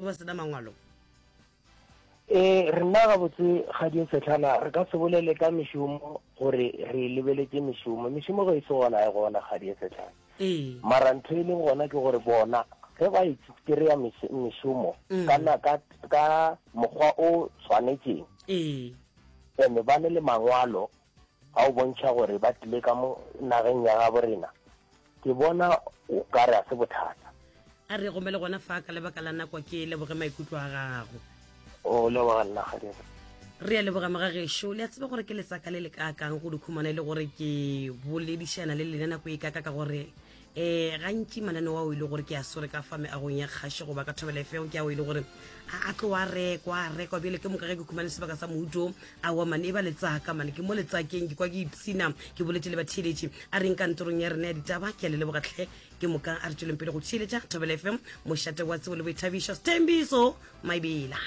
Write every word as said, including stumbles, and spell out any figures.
Ba sena mangwalo. Ee, rena gabotse Kgadi Sehlana re ka se bolele ka mešomo gore re lebeletše mešomo. Mešomo ge e se gona e gona Kgadi Sehlana. Ee. Mara ntho e leng gona ke gore bona ge ba e kry-a mešomo ka, na, ka, ka mokgwa o tshwanetšeng, Ee. ene ba ne le mangwalo a o bontšha gore ba tlile ka mo nageng ya gabo rena, ke bona o ka re a se bothata. A re gomele gona fa ka lebaka la nako, ke leboge maikutlo a gago. O leboga nna Kgadi. Re a leboga mogagešo. Le a tseba gore ke letsaka le le kaakang go dikhumana e le gore ke boledišana le lena nako e kaka, ka gore um gantši mananeo ao e le gore ke a swere ka fa meagong ya kgašo goba ka Thobela F M ke ao e le gore a a tlo a rekwa a rekwa. Bjale ke moka ge ke khumane sebaka sa mouto aowa mane e ba letsaka mane ke mo letsakeng, ke kwa ke ipsina ke boletse le batheeletši a reng kantorong ya rena ya ditaba. Ke a le leboga tlhe. Ke moka a re tšweleng pele go theeletša Thobela F M, mošate wa tsebo le boithabišo. Sthembiso Maibela.